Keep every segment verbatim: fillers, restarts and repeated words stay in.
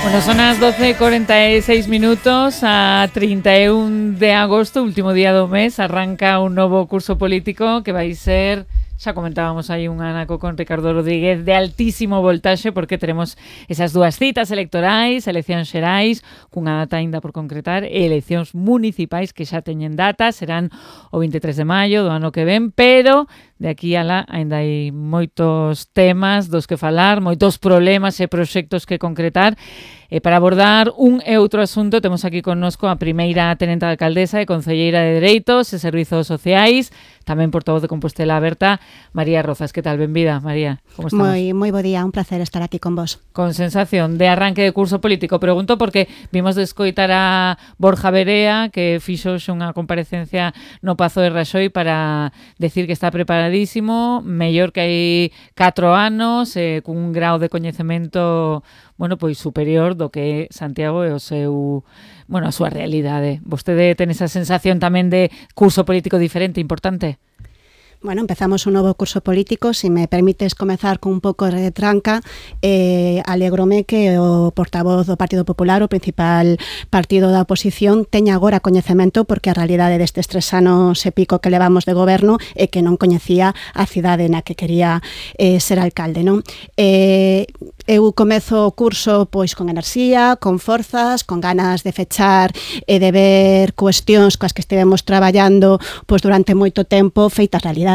Bueno, son as doce e cuarenta e seis minutos, a trinta e un de agosto, último día do mes, arranca un novo curso político que vai ser, xa comentábamos aí un anaco con Ricardo Rodríguez, de altísimo voltaxe, porque teremos esas dúas citas electorais, eleccións xerais, cunha data aínda por concretar, e eleccións municipais que xa teñen data, serán o veintitrés de maio do ano que ven, pero de aquí a lá aínda hai moitos temas dos que falar, moitos problemas e proxectos que concretar. E para abordar un e outro asunto temos aquí connosco a primeira tenente de alcaldesa e concelleira de Dereitos e Servizos Sociais, tamén portavoz de Compostela Aberta, María Rozas. Que tal? Benvida, María. Como estamos? Moi, moi bo día, un placer estar aquí con vos. Con sensación de arranque de curso político. Pregunto porque vimos de escoitar a Borja Verea, que fixo unha comparecencia no Pazo de Raxoi para decir que está preparadísimo, mellor que hai catro anos, eh, cun grau de coñecemento, bueno, pois superior do que Santiago e o seu, bueno, a súa realidade. Vostede ten esa sensación tamén de curso político diferente, importante? Bueno, empezamos un novo curso político. Se me permites comezar con un pouco de tranca, eh, alégrome que o portavoz do Partido Popular, o principal partido da oposición, teña agora coñecemento, porque a realidade destes tres anos e pico que levamos de goberno é que non coñecía a cidade na que quería eh, ser alcalde, non? Eh, eu comezo o curso pois con enerxía, con forzas, con ganas de fechar e de ver cuestións coas que estivemos traballando pois durante moito tempo feitas realidade.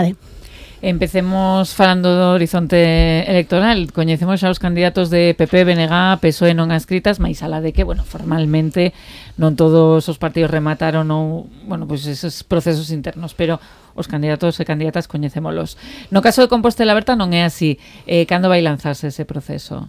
Empecemos falando do horizonte electoral. Coñecemos xa os candidatos de P P, B N G, P S O E non adscritas, máis alá de que, bueno, formalmente non todos os partidos remataron ou, bueno, pois pues esos procesos internos, pero os candidatos e candidatas coñecémolos. No caso de Compostela Aberta non é así. Eh, cando vai lanzarse ese proceso?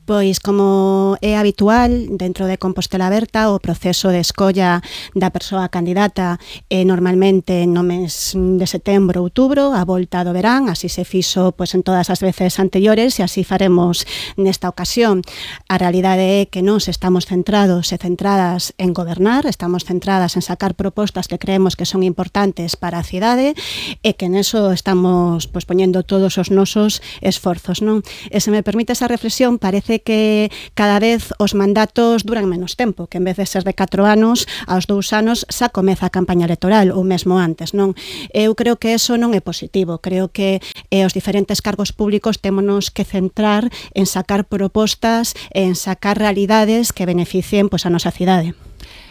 Pois, como é habitual dentro de Compostela Aberta, o proceso de escolla da persoa candidata é normalmente no mes de setembro, outubro, a volta do verán. Así se fixo pois en todas as veces anteriores e así faremos nesta ocasión. A realidade é que nós estamos centrados e centradas en gobernar, estamos centradas en sacar propostas que creemos que son importantes para a cidade e que neso estamos pois poñendo todos os nosos esforzos, non? E se me permite esa reflexión, parece que cada vez os mandatos duran menos tempo, que en vez de ser de catro anos, aos dous anos xa comeza a campaña electoral, ou mesmo antes, non? Eu creo que eso non é positivo. Creo que eh, os diferentes cargos públicos témonos que centrar en sacar propostas, en sacar realidades que beneficien pois a nosa cidade.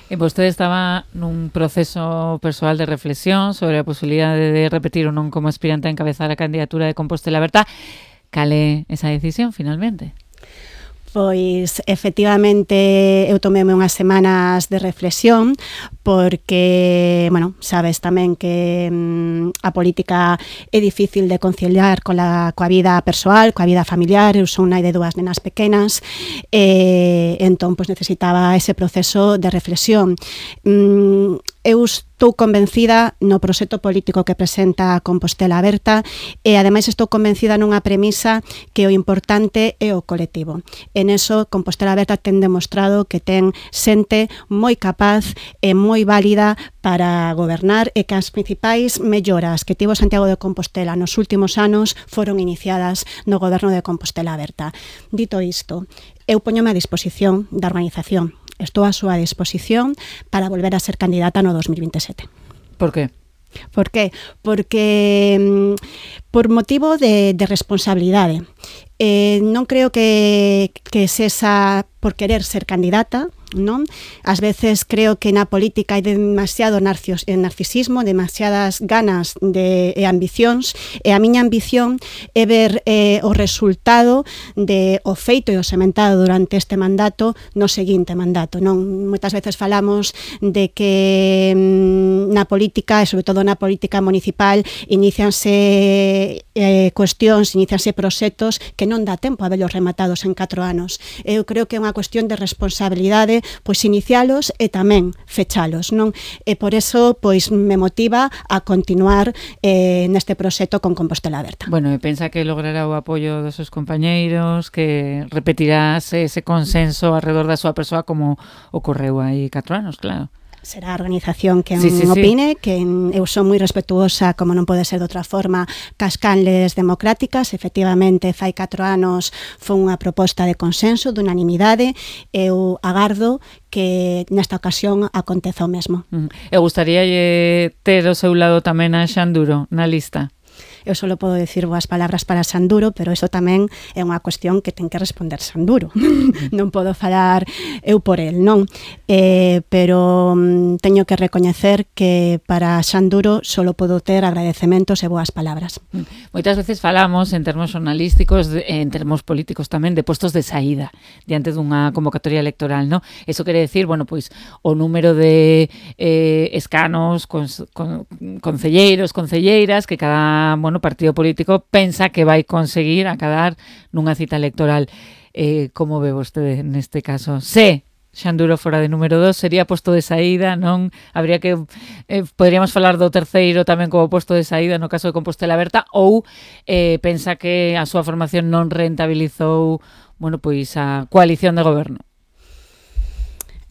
E vostede estaba nun proceso persoal de reflexión sobre a posibilidade de repetir ou non como aspirante a encabezar a candidatura de Compostela Aberta. Cal é esa decisión, finalmente? Pois, efectivamente, eu tomeme unhas semanas de reflexión, porque, bueno, sabes tamén que mm, a política é difícil de conciliar coa, coa vida persoal, coa vida familiar. Eu son nai de dúas nenas pequenas, e entón, pois, necesitaba ese proceso de reflexión. Mm, eu estou convencida no proxecto político que presenta Compostela Aberta e, ademais, estou convencida nunha premisa que o importante é o colectivo. En eso, Compostela Aberta ten demostrado que ten xente moi capaz e moi válida para gobernar e que as principais melloras que tivo Santiago de Compostela nos últimos anos foron iniciadas no goberno de Compostela Aberta. Dito isto, eu poñome a disposición da organización. Estou a súa disposición para volver a ser candidata no dos mil veintisiete. Por qué? Por qué? Porque por motivo de, de responsabilidade. Eh, non creo que, que sexa por querer ser candidata, non? Ás veces creo que na política hai demasiado narcisismo, demasiadas ganas de, e ambicións, e a miña ambición é ver eh, o resultado de o feito e o sementado durante este mandato no seguinte mandato, non? Moitas veces falamos de que mm, na política, e sobre todo na política municipal, inicianse eh, cuestións, inicianse proxectos que non dá tempo a velos rematados en catro anos. Eu creo que é unha cuestión de responsabilidade, pois inicialos e tamén fechalos, non? E por eso, pois, me motiva a continuar eh, neste proxecto con Compostela Aberta. Bueno, e pensa que logrará o apoio dos seus compañeiros, que repetirás ese consenso alrededor da súa persoa como ocorreu hai catro anos, claro. será a organización quen sí, sí, opine, sí. que eu son moi respetuosa, como non pode ser de outra forma, cas canles democráticas. Efectivamente, fai catro anos foi unha proposta de consenso, de unanimidade. Eu agardo que nesta ocasión aconteza o mesmo. Uh-huh. Eu gustaría ter ao seu lado tamén a Xanduro na lista. Eu só podo decir boas palabras para Sanduro, pero iso tamén é unha cuestión que ten que responder Sanduro. Non podo falar eu por el, non? Eh, pero mm, teño que recoñecer que para Sanduro só podo ter agradecementos e boas palabras. Moitas veces falamos en termos xornalísticos, en termos políticos tamén, de postos de saída diante dunha convocatoria electoral, non? Eso quere decir, bueno, pois o número de eh, escanos, con, con, concelleiros, concelleiras, que cada, bueno, partido político pensa que vai conseguir acadar nunha cita electoral. Eh, como ve vostede neste caso? Se Xanduro fora de número dos, sería posto de saída, non? Habría que, eh, poderíamos falar do terceiro tamén como posto de saída no caso de Compostela Aberta, ou eh, pensa que a súa formación non rentabilizou, bueno, pois a coalición de goberno?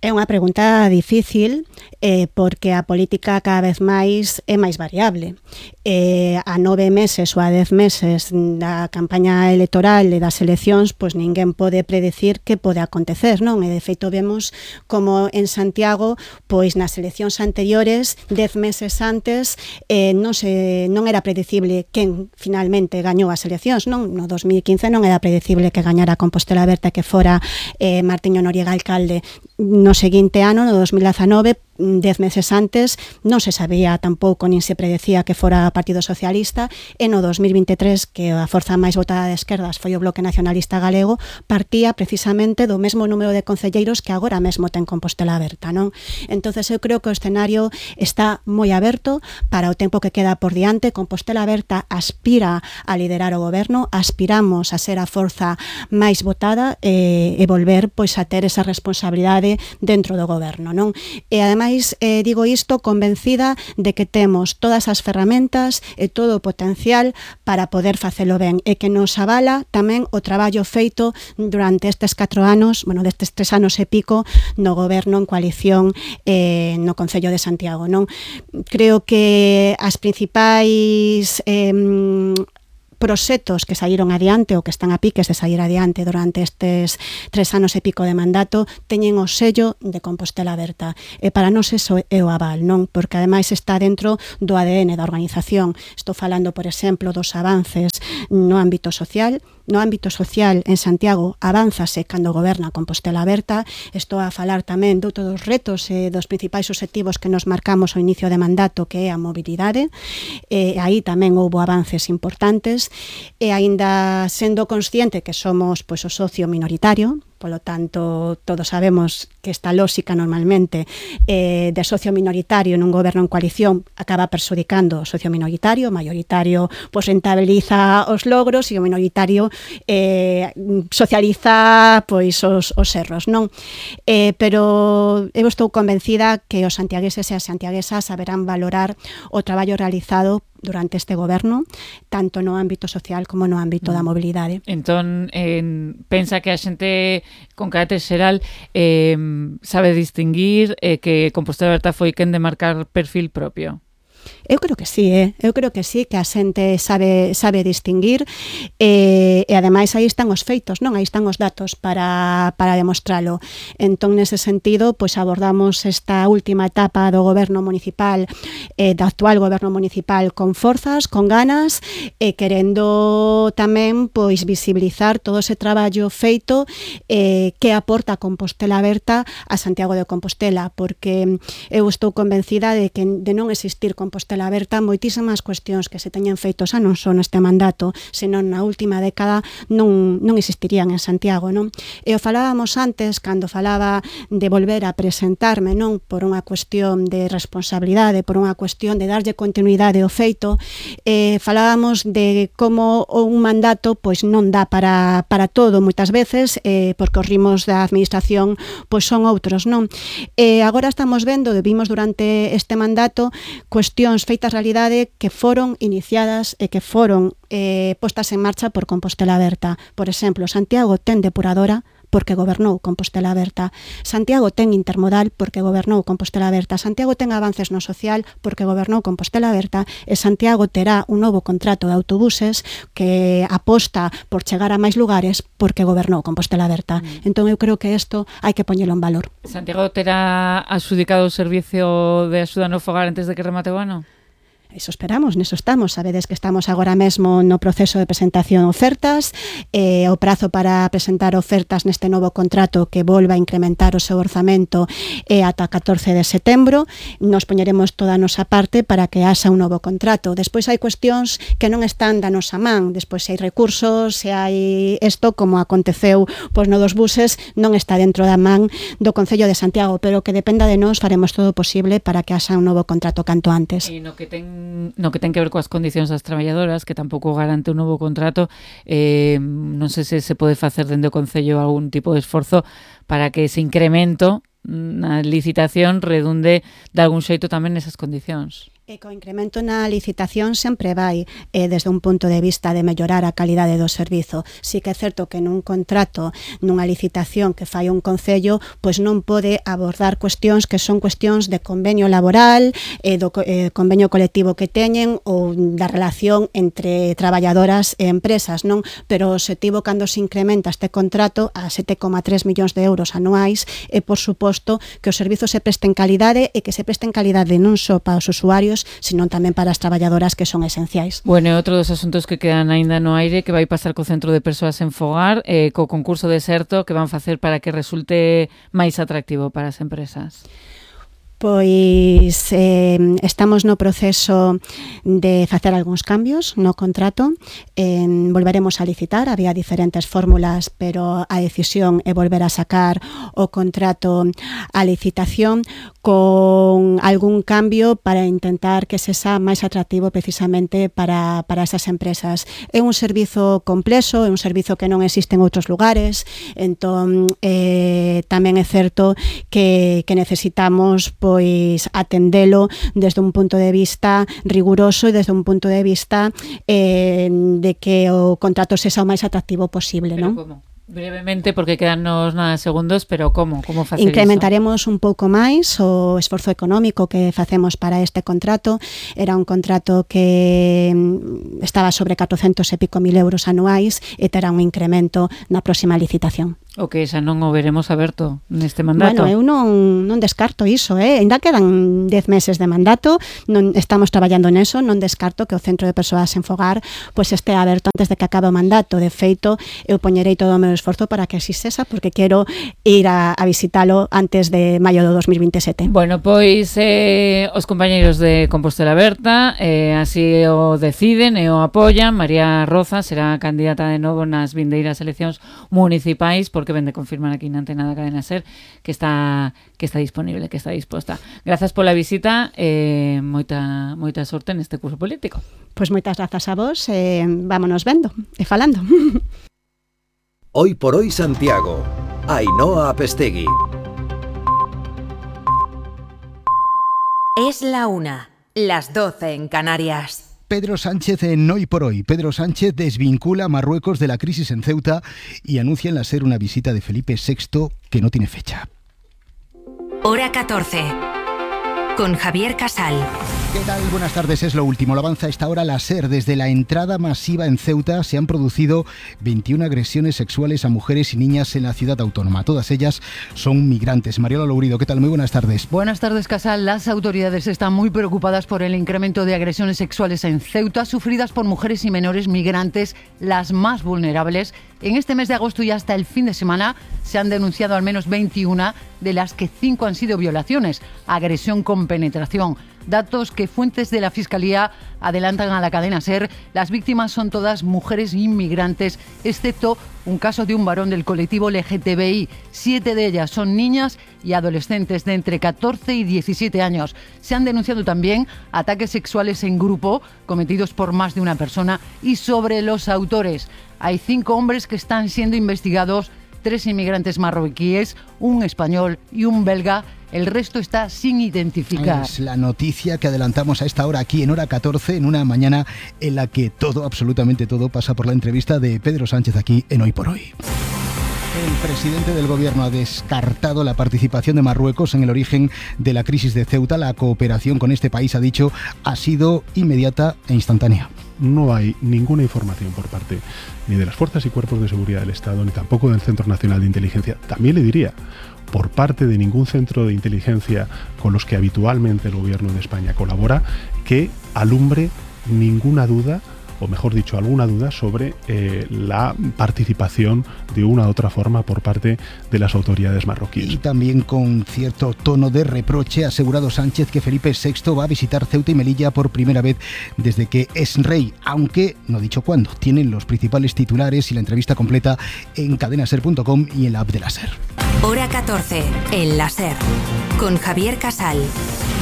É unha pregunta difícil eh, porque a política cada vez máis é máis variable. Eh, a nove meses ou a dez meses da campaña electoral e das eleccións, pois ninguén pode predecir que pode acontecer, non? E de feito vemos como en Santiago, pois nas eleccións anteriores, dez meses antes, eh, non, se, non era predecible quen finalmente gañou as eleccións, non? No dos mil quince non era predecible que gañara Compostela Aberta, que fora eh, Martiño Noriega alcalde. No seguinte ano, no dos mil dezanove, dez meses antes, non se sabía tampouco, nin se predecía que fora o Partido Socialista, e no dos mil vinte e tres, que a forza máis votada de esquerdas foi o Bloque Nacionalista Galego, partía precisamente do mesmo número de concelleiros que agora mesmo ten Compostela Aberta, non? Entonces eu creo que o escenario está moi aberto para o tempo que queda por diante. Compostela Aberta aspira a liderar o goberno, aspiramos a ser a forza máis votada e, e volver pois a ter esa responsabilidade dentro do goberno, non? E ademais Eh, digo isto convencida de que temos todas as ferramentas e todo o potencial para poder facelo ben, e que nos avala tamén o traballo feito durante estes catro anos, bueno, destes tres anos e pico no goberno en coalición eh, no Concello de Santiago, non? Creo que as principais eh, proxectos que saíron adiante ou que están a piques de sair adiante durante estes tres anos e pico de mandato teñen o sello de Compostela Aberta, e para nós eso é o aval, non? Porque ademais está dentro do A D N da organización. Estou falando, por exemplo, dos avances no ámbito social. No ámbito social en Santiago avánzase cando goberna Compostela Aberta. Estou a falar tamén de outros retos e dos principais obxectivos que nos marcamos ao inicio de mandato, que é a mobilidade. E aí tamén houbo avances importantes, e aínda sendo consciente que somos pois o socio minoritario, polo tanto, todos sabemos que esta lógica normalmente eh, de socio minoritario nun goberno en coalición acaba perxudicando o socio minoritario. O mayoritario pois rentabiliza os logros e o minoritario eh, socializa pois os, os erros, non? Eh, pero eu estou convencida que os santiagueses e as santiaguesas saberán valorar o traballo realizado durante este goberno, tanto no ámbito social como no ámbito da mobilidade. Entón, eh, pensa que a xente con carácter xeral eh, sabe distinguir eh, que Compostela Aberta foi quen de marcar perfil propio? Eu creo que sí, eh? eu creo que sí, que a xente sabe, sabe distinguir e, e ademais aí están os feitos, non? Aí están os datos para, para demostralo. Entón, nese sentido, pois abordamos esta última etapa do goberno municipal, eh, do actual goberno municipal con forzas, con ganas, e querendo tamén pois visibilizar todo ese traballo feito eh, que aporta Compostela Aberta a Santiago de Compostela, porque eu estou convencida de que de non existir Compostela Aberta, moitísimas cuestións que se teñen feito xa non son neste mandato, senón na última década non, non existirían en Santiago, non? E o falábamos antes, cando falaba de volver a presentarme, non? Por unha cuestión de responsabilidade, por unha cuestión de darlle continuidade ao feito, eh, falábamos de como un mandato pois non dá para, para todo moitas veces, eh, porque os ritmos da administración pois son outros, non? E agora estamos vendo, vimos durante este mandato, cuestións feitas realidade que foron iniciadas e que foron eh, postas en marcha por Compostela Aberta. Por exemplo, Santiago ten depuradora, porque gobernou Compostela Aberta. Santiago ten intermodal porque gobernou Compostela Aberta. Santiago ten avances no social porque gobernou Compostela Aberta, e Santiago terá un novo contrato de autobuses que aposta por chegar a máis lugares porque gobernou Compostela Aberta. Mm. Entón eu creo que isto hai que poñelo en valor. Santiago terá adxudicado o servicio de axuda no fogar antes de que remate o ano? Iso esperamos, neso estamos. Sabedes que estamos agora mesmo no proceso de presentación de ofertas, e o prazo para presentar ofertas neste novo contrato que volva a incrementar o seu orzamento é ata catorce de setembro. Nos poñeremos toda a nosa parte para que haxa un novo contrato. Despois hai cuestións que non están da nosa man, despois se hai recursos, se hai isto, como aconteceu pois no dos buses, non está dentro da man do Concello de Santiago, pero que dependa de nós faremos todo o posible para que haxa un novo contrato canto antes. E no que ten no que ten que ver coas condicións das traballadoras, que tampouco garante un novo contrato, eh, non sei se se pode facer dende o Concello algún tipo de esforzo para que ese incremento na licitación redunde de algún xeito tamén nesas condicións. E co incremento na licitación sempre vai eh, desde un punto de vista de mellorar a calidade do servizo. Si que é certo que nun contrato, nunha licitación que fai un concello, pois non pode abordar cuestións que son cuestións de convenio laboral, eh, do eh, convenio colectivo que teñen ou da relación entre traballadoras e empresas, non? Pero o objetivo cando se incrementa este contrato a sete coma tres millóns de euros anuais é, por suposto, que os servizos se presten calidade e que se presten calidade non só para os usuarios, senón tamén para as traballadoras, que son esenciais. Bueno, e outro dos asuntos que quedan aínda no aire, que vai pasar co Centro de Persoas en Fogar, eh, co concurso deserto que van facer para que resulte máis atractivo para as empresas. Pois eh, estamos no proceso de facer algúns cambios no contrato. Eh, volveremos a licitar, había diferentes fórmulas, pero a decisión é volver a sacar o contrato a licitación con algún cambio para intentar que se xa máis atractivo precisamente para, para esas empresas. É un servizo complexo, é un servizo que non existe en outros lugares, entón eh, tamén é certo que, que necesitamos pois atendelo desde un punto de vista riguroso e desde un punto de vista eh, de que o contrato sexa o máis atractivo posible, Pero non? Como? Brevemente, porque quedannos nada segundos, pero como? Como facer Incrementaremos iso? un pouco máis o esforzo económico que facemos para este contrato. Era un contrato que estaba sobre catrocentos e pico mil euros anuais e terá un incremento na próxima licitación. O que xa non o veremos aberto neste mandato. Bueno, eu non, non descarto iso, eh? Ainda quedan dez meses de mandato, non estamos traballando neso, non descarto que o Centro de Persoas en Fogar pois este aberto antes de que acabe o mandato. De feito, eu poñerei todo o meu esforzo para que así sexa, porque quero ir a, a visitalo antes de maio do dos mil veintisiete. Bueno, pois eh, os compañeiros de Compostela Aberta eh, así o deciden e o apoian. María Roza será candidata de novo nas vindeiras eleccións municipais, porque ven de confirmar aquí na Antena da Cadena Ser que está que está disponible, que está disposta. Grazas pola visita e eh, moita moita sorte neste curso político. Pois moitas grazas a vos, e eh, vámonos vendo e falando. Hoy por hoy Santiago. Ainhoa Apestegui. Es la una, las doce en Canarias. Pedro Sánchez en Hoy por Hoy. Pedro Sánchez desvincula a Marruecos de la crisis en Ceuta y anuncia en la SER una visita de Felipe sexto que no tiene fecha. Hora catorce. Con Javier Casal. ¿Qué tal? Buenas tardes, es lo último. Lo avanza a esta hora la SER. Desde la entrada masiva en Ceuta se han producido veintiuna agresiones sexuales a mujeres y niñas en la ciudad autónoma. Todas ellas son migrantes. Mariola Lourido, ¿qué tal? Muy buenas tardes. Buenas tardes, Casal. Las autoridades están muy preocupadas por el incremento de agresiones sexuales en Ceuta sufridas por mujeres y menores migrantes, las más vulnerables. En este mes de agosto y hasta el fin de semana se han denunciado al menos veintiuna, de las que cinco han sido violaciones, agresión con penetración. Datos que fuentes de la Fiscalía adelantan a la cadena SER. Las víctimas son todas mujeres inmigrantes, excepto un caso de un varón del colectivo L G T B I. Siete de ellas son niñas y adolescentes de entre catorce y diecisiete años. Se han denunciado también ataques sexuales en grupo cometidos por más de una persona y sobre los autores. Hay cinco hombres que están siendo investigados, tres inmigrantes marroquíes, un español y un belga. El resto está sin identificar. Es la noticia que adelantamos a esta hora aquí en Hora catorce, en una mañana en la que todo, absolutamente todo, pasa por la entrevista de Pedro Sánchez aquí en Hoy por Hoy. El presidente del gobierno ha descartado la participación de Marruecos en el origen de la crisis de Ceuta. La cooperación con este país, ha dicho, ha sido inmediata e instantánea. No hay ninguna información por parte ni de las fuerzas y cuerpos de seguridad del Estado, ni tampoco del Centro Nacional de Inteligencia. También le diría, por parte de ningún centro de inteligencia con los que habitualmente el gobierno de España colabora, que alumbre ninguna duda, o mejor dicho, alguna duda sobre eh, la participación de una u otra forma por parte de las autoridades marroquíes. Y también con cierto tono de reproche ha asegurado Sánchez que Felipe sexto va a visitar Ceuta y Melilla por primera vez desde que es rey, aunque no ha dicho cuándo. Tienen los principales titulares y la entrevista completa en cadena ser punto com y en la app de la SER. Hora catorce, en la SER, con Javier Casal.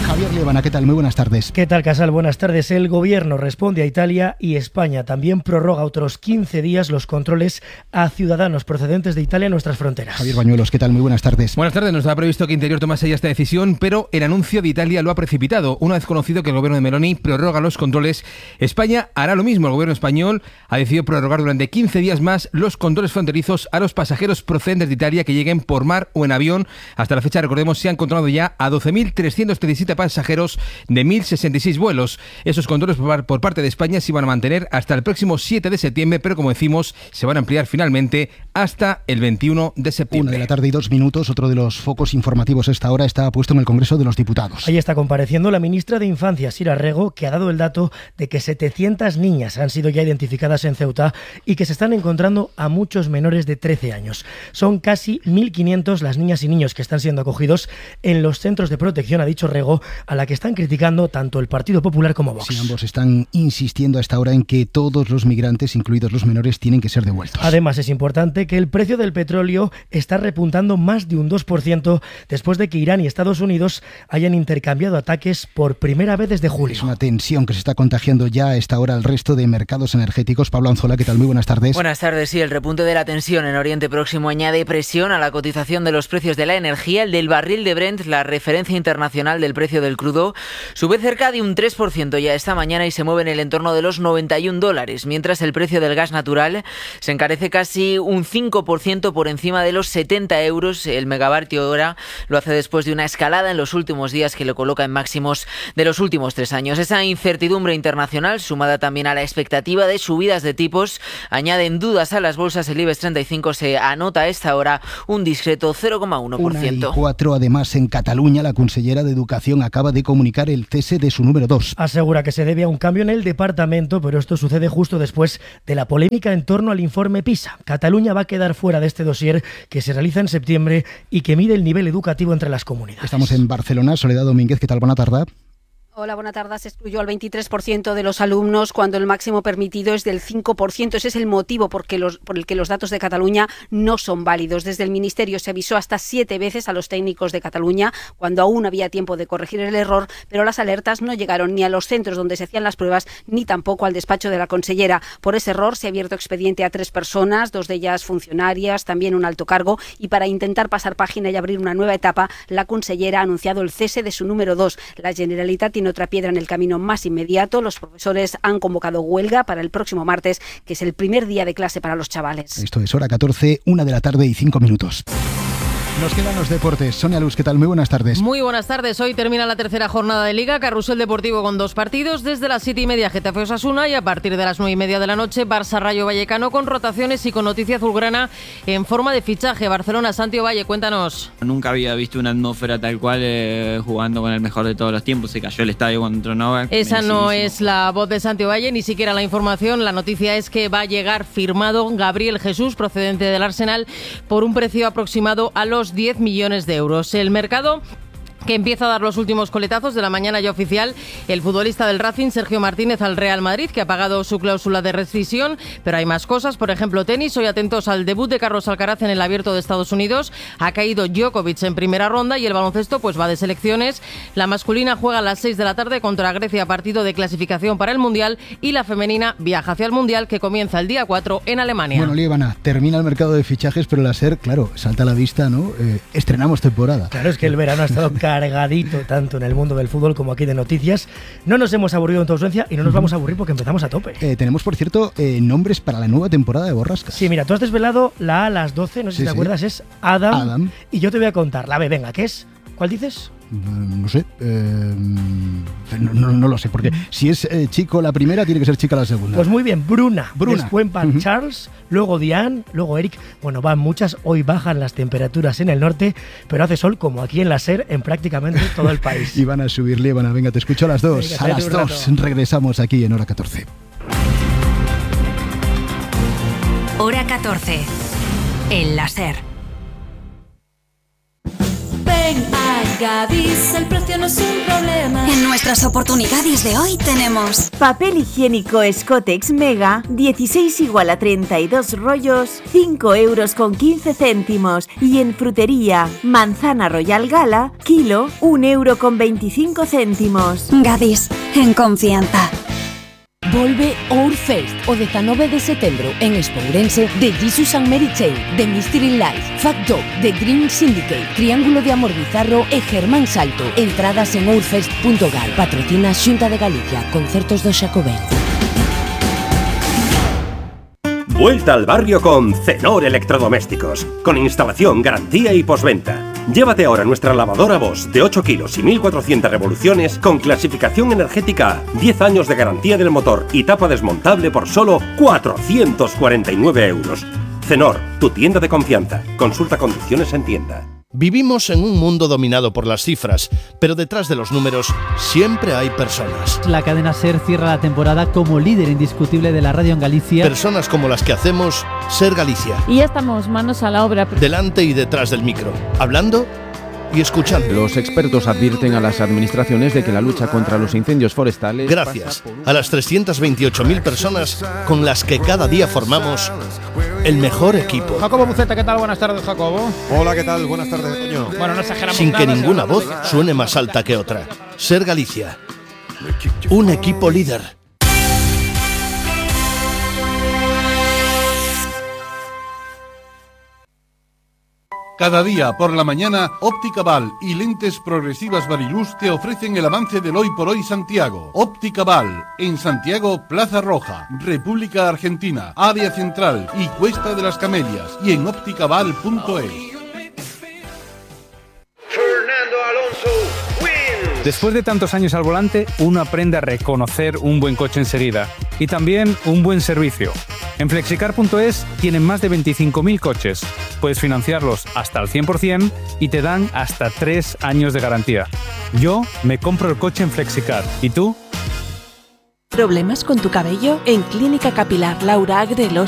Javier Liébana, ¿qué tal? Muy buenas tardes. ¿Qué tal, Casal? Buenas tardes. El Gobierno responde a Italia y España también prorroga otros quince días los controles a ciudadanos procedentes de Italia en nuestras fronteras. Javier Bañuelos, ¿qué tal? Muy buenas tardes. Buenas tardes. No estaba previsto que Interior tomase ya esta decisión, pero el anuncio de Italia lo ha precipitado. Una vez conocido que el Gobierno de Meloni prorroga los controles, España hará lo mismo. El Gobierno español ha decidido prorrogar durante quince días más los controles fronterizos a los pasajeros procedentes de Italia que lleguen por mar o en avión. Hasta la fecha, recordemos, se han controlado ya a doce mil trescientos diecisiete pasajeros de mil sesenta y seis vuelos. Esos controles por parte de España se van a mantener hasta el próximo siete de septiembre, pero como decimos, se van a ampliar finalmente hasta el veintiuno de septiembre. Una de la tarde y dos minutos. Otro de los focos informativos a esta hora está puesto en el Congreso de los Diputados. Ahí está compareciendo la ministra de Infancia, Sira Rego, que ha dado el dato de que setecientas niñas han sido ya identificadas en Ceuta y que se están encontrando a muchos menores de trece años. Son casi mil quinientos las niñas y niños que están siendo acogidos en los centros de protección, ha dicho Rego, a la que están criticando tanto el Partido Popular como Vox. Sí, ambos están insistiendo a esta hora en que todos los migrantes, incluidos los menores, tienen que ser devueltos. Además, es importante que el precio del petróleo está repuntando más de un dos por ciento después de que Irán y Estados Unidos hayan intercambiado ataques por primera vez desde julio. Es una tensión que se está contagiando ya a esta hora al resto de mercados energéticos. Pablo Anzola, ¿qué tal? Muy buenas tardes. Buenas tardes. Sí, el repunte de la tensión en Oriente Próximo añade presión a la cotización de los precios de la energía. El del barril de Brent, la referencia internacional del precio del crudo, sube cerca de un tres por ciento ya esta mañana y se mueve en el entorno de los noventa y un dólares, mientras el precio del gas natural se encarece casi un cinco por ciento por encima de los setenta euros el megavatio hora. Lo hace después de una escalada en los últimos días que lo coloca en máximos de los últimos tres años. Esa incertidumbre internacional, sumada también a la expectativa de subidas de tipos, añaden dudas a las bolsas. El IBEX treinta y cinco se anota a esta hora un discreto cero coma uno por ciento. Una y cuatro, además, en Cataluña, la consellera de Educación acaba de comunicar el cese de su número dos. Asegura que se debe a un cambio en el departamento, pero esto sucede justo después de la polémica en torno al informe PISA. Cataluña va a quedar fuera de este dossier que se realiza en septiembre y que mide el nivel educativo entre las comunidades. Estamos en Barcelona. Soledad Domínguez, ¿qué tal? Buena tarde. Hola, buenas tardes. Se excluyó al veintitrés por ciento de los alumnos cuando el máximo permitido es del cinco por ciento. Ese es el motivo por, que los, por el que los datos de Cataluña no son válidos. Desde el Ministerio se avisó hasta siete veces a los técnicos de Cataluña cuando aún había tiempo de corregir el error, pero las alertas no llegaron ni a los centros donde se hacían las pruebas ni tampoco al despacho de la consellera. Por ese error se ha abierto expediente a tres personas, dos de ellas funcionarias, también un alto cargo, y para intentar pasar página y abrir una nueva etapa, la consellera ha anunciado el cese de su número dos. La Generalitat tiene otra piedra en el camino más inmediato. Los profesores han convocado huelga para el próximo martes, que es el primer día de clase para los chavales. Esto es Hora catorce, una de la tarde y cinco minutos. Nos quedan los deportes. Sonia Luz, ¿qué tal? Muy buenas tardes. Muy buenas tardes. Hoy termina la tercera jornada de Liga. Carrusel Deportivo con dos partidos. Desde las siete y media Getafe Osasuna y a partir de las nueve y media de la noche Barça Rayo Vallecano, con rotaciones y con noticia azulgrana en forma de fichaje. Barcelona, Santiago Valle, cuéntanos. Nunca había visto una atmósfera tal cual eh, jugando con el mejor de todos los tiempos. Se cayó el estadio cuando entró Novak. Esa no es la voz de Santiago Valle, ni siquiera la información. La noticia es que va a llegar firmado Gabriel Jesús, procedente del Arsenal, por un precio aproximado a los diez millones de euros. El mercado que empieza a dar los últimos coletazos de la mañana ya oficial. El futbolista del Racing, Sergio Martínez, al Real Madrid, que ha pagado su cláusula de rescisión, pero hay más cosas, por ejemplo tenis. Hoy atentos al debut de Carlos Alcaraz en el Abierto de Estados Unidos. Ha caído Djokovic en primera ronda y el baloncesto pues va de selecciones. La masculina juega a las seis de la tarde contra Grecia, partido de clasificación para el Mundial, y la femenina viaja hacia el Mundial, que comienza el día cuatro en Alemania. Bueno, Liébana, termina el mercado de fichajes, pero la SER, claro, salta a la vista, ¿no? Eh, estrenamos temporada. Claro, es que el verano ha estado caro. cargadito tanto en el mundo del fútbol como aquí de noticias. No nos hemos aburrido en tu ausencia y no nos vamos a aburrir porque empezamos a tope. Eh, tenemos, por cierto, eh, nombres para la nueva temporada de Borrascas. Sí, mira, tú has desvelado la A a las doce, no sé Sí, si te sí. acuerdas, es Adam, Adam. Y yo te voy a contar la B, venga, ¿qué es? ¿Cuál dices? No sé, eh, no, no, no lo sé, porque si es eh, chico la primera, tiene que ser chica la segunda. Pues muy bien, Bruna, Bruna. después van Uh-huh. Charles, luego Diane, luego Eric. Bueno, van muchas, hoy bajan las temperaturas en el norte, pero hace sol como aquí en la SER en prácticamente todo el país. Y van a subir, Líbana, venga, te escucho a las dos. Venga, a las espérate un dos rato. regresamos aquí en Hora catorce. Hora catorce. En la SER. Ven a Gadis, el precio no es un problema. En nuestras oportunidades de hoy tenemos papel higiénico Scotex Mega, dieciséis igual a treinta y dos rollos, cinco euros con quince céntimos. Y en frutería, manzana Royal Gala, kilo, un euro con veinticinco céntimos. Gadis, en confianza. Volve Ourfest o dezanove de setembro en Espourense de Jesus and Mary Chain, de Mystery Life, Fat Dog, de Green Syndicate, Triángulo de Amor Bizarro e Germán Salto. Entradas en ourfest punto gal. Patrocina Xunta de Galicia, Concertos do Xacobeo. Vuelta al barrio con Cenor Electrodomésticos, con instalación, garantía y postventa. Llévate ahora nuestra lavadora Bosch de ocho kilos y mil cuatrocientas revoluciones con clasificación energética A, diez años de garantía del motor y tapa desmontable por solo cuatrocientos cuarenta y nueve euros. Cenor, tu tienda de confianza. Consulta condiciones en tienda. Vivimos en un mundo dominado por las cifras, pero detrás de los números siempre hay personas. La cadena SER cierra la temporada como líder indiscutible de la radio en Galicia. Personas como las que hacemos SER Galicia. Y ya estamos, manos a la obra. Delante y detrás del micro, hablando y escuchando. Los expertos advierten a las administraciones de que la lucha contra los incendios forestales... Gracias a las trescientas veintiocho mil personas con las que cada día formamos el mejor equipo. Jacobo Buceta, ¿qué tal? Buenas tardes, Jacobo. Hola, ¿qué tal? Buenas tardes, Toño. Bueno, no exageramos Sin que nada, ninguna seguro. voz suene más alta que otra. SER Galicia. Un equipo líder. Cada día por la mañana, Óptica Val y Lentes Progresivas Variluz te ofrecen el avance del Hoy por Hoy Santiago. Óptica Val, en Santiago, Plaza Roja, República Argentina, Área Central y Cuesta de las Camelias, y en ópticaval punto es. Después de tantos años al volante, uno aprende a reconocer un buen coche enseguida y también un buen servicio. En flexicar punto es tienen más de veinticinco mil coches. Puedes financiarlos hasta el cien por ciento y te dan hasta tres años de garantía. Yo me compro el coche en Flexicar. ¿Y tú? ¿Problemas con tu cabello? En Clínica Capilar Laura Agrelo